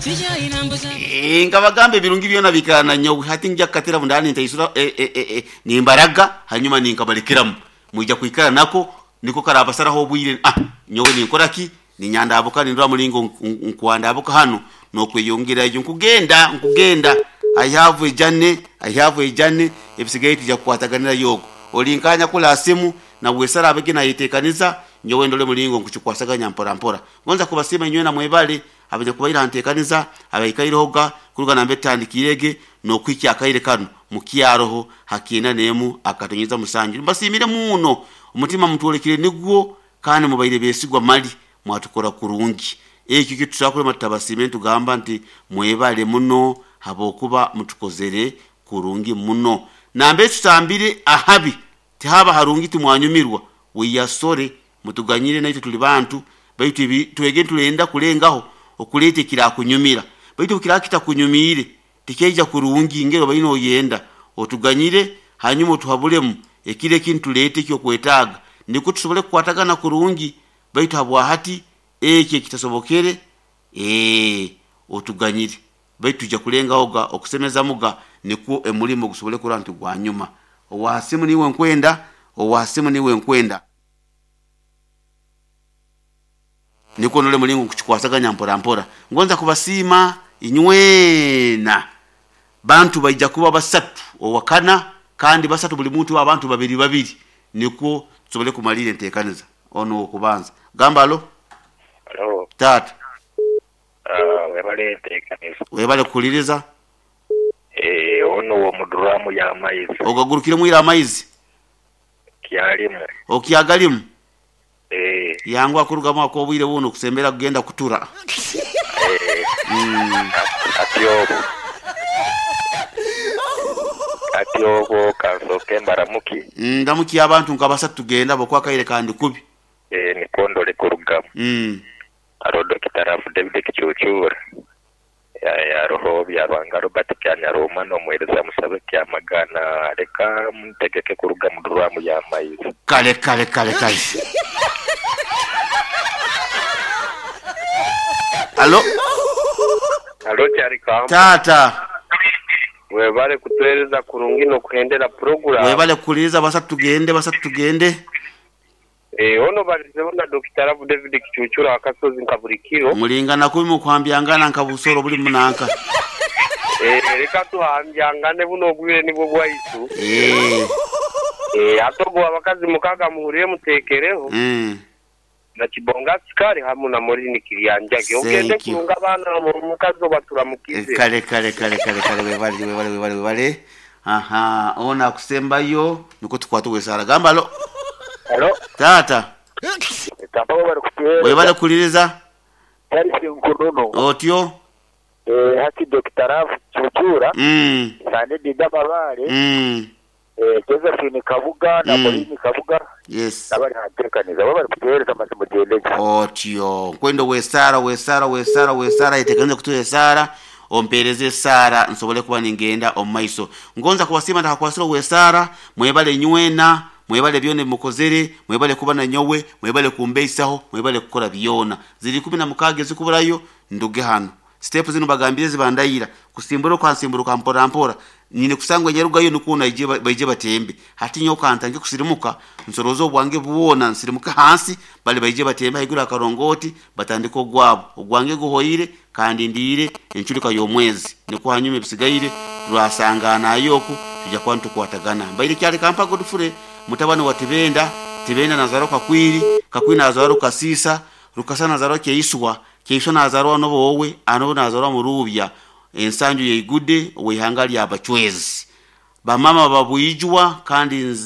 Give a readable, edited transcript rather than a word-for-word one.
Eh, nkabagamba ebirungi byona biikara na nyowe hati ngya kukatira bundaba nintaisura eh, eh, eh, eh, nimbaraga hanyuma ninkabalekeramu mwija kwikara nako niko karabasaraho obwire. Ah, nyowe ninkora ki? Ninyandabuka nindora mulingo nkwandabuka hano nokweyongerayo nkugenda nkugenda. I have a journey, I have a journey. Ebisigaye tujya kukwataganira yogo ori nkanya kula simu na wesara abege nayetekaniza nyowe ndole mulingo nkukikwasaganya mpora mpora. Ngonza kubasiima inywe na mwebale abanya kubaira ntekaniza abaikairehoga kuruga nambe tandikirege nokwikya akaire kano mukyaroho hakiina nemu akatonyeza musanju. Mbasiimire muno omutima mutwolekire nigwo kandi mubaire besigwa mali mwatukora kurungi. Ekyo kitusakulema tutabasiime tugamba nti mwebale muno habokuba mutukozere kurungi muno. Nambe tutambire ahabi tihaba harungi timwanyumirwa wiyasore mutuganyire naitwe tuli bantu baitu twege tulenda kulengaho okuleta ekirakunyumira baitu kirakitakunyumire tikeija kurungi ngero baino oyenda otuganyire hanyuma otuhabulemu ekire ekintu tulete ekyokwetaaga niko tusobole kukwatagana kurungi baitu habwahati ekyo ekitasobokere otuganyire baitu tujja kulengahoga okusemezamuga nikwo emulimo gusobole kurora nti gwanyuma. Owasimu niwe nkwenda, owasimu niwe nkwenda nikwo nole mulingo nkukikwasaganya mpora mpora. Ngonza kubasiima inywena bantu baija kuba basatu owakana kandi basatu buli muntu abantu babiri babiri nikwo tusobole kumalira entekaniza. Ono okubanza gamba alo. Alo. Taata. Webale entekaniza. Webale kuhuliriza. Ono w'omuduraamu y'amaizi. Ogagurukiremu ira amaizi? Kyalimu. Okyagalimu? Yanguha kurugamu ak'obwire buno kusembera kugenda kutura. Ati obwo, ati obwo kansooke mbaramukie. Ndamukia abantu nka basatu tugende habwokuba akaire kandi kubi. Nikwo ndole kurugamu. Haroho Dokita Rafu David Kicuucuura, haroho Byaruhanga Robert Kyanyaroma n'omuheereza Musabe Kyamagana. Leka ntegeke kuruga mu duraamu y'amaizi. Kale kale kale kale. Alo. Alo Kyarikamba. Taata. Webale kutuwereza kurungi nokuhendera puroguramu. Webale kuhuliriza basatu tugende basatu tugende. Ono balizeho na Dokita Rabu David Kicucura Akasozi nka buri kiro. Mulingana kubi mukuhambyangana nka busoro buri munanka. Leka tuhambyangane buno obwire nibwo bwaitu. Ate obwo abakazi mukaga muhurire mutekereho. Na Kibonga Sukari hamu na Morini Kiryanjage. Ogende Thank you. kurunga abaana omukazi obaturamukize. Kale kale kale kale kale webale webale webale webale. Aha, ona akusembayo niko tukwata wesara. Gamba alo. Alo. Taata. Tamba webale kutuwereza. Webale kuhuliriza. Charles Nkunono. Otyo. Hati Dokita Rafu Chuchura. Sande Dida Mabare. Josephine Kabuga na Morini Kabuga. Yes. Nabari hantekaniza webale kutuwereza amazima gendege. Otyo. Nkwenda wesara wesara wesara wesara etekaniza kutuwesara ompereze esara nsobole kuba ningenda omu maiso. Ngonza kubasiima ndakakwasira owesara mwebale nywena mwebale byona ebimukozere mwebale kuba na nyowe mwebale kumbeisaho mwebale kukora byona. Ziri 16 ezikuburayo nduge hano. Step zino bagambire zibandayira kusimbura okansimburuka mpora mpora nyine kusangwa nyarugayo nukwo naije baije batembe hati nyo kantange kusirimuka nsorozo obwange bwona nsirimuka hansi bali baije batembe haiguru akarongoti batandika ogwabo ogwange guhoire kandi ndiire enchurika y'omwezi niko hanyuma ebisigaire turasangana ayoku tujja kuba nitukwatagana. Mbaire kyali kampa Godfrey mutabani wa Tibenda. Tibenda nazarwa Kakwiri, Kakwiri nazarwa Rukasisa, Rukasa nazarwa Kyeiswa, Kyeiswa nazarwa Nobowe, Anobo nazarwa Murubya, ensanju yeigude oweihanga lya Bachwezi. Bamama babwijwa kandi.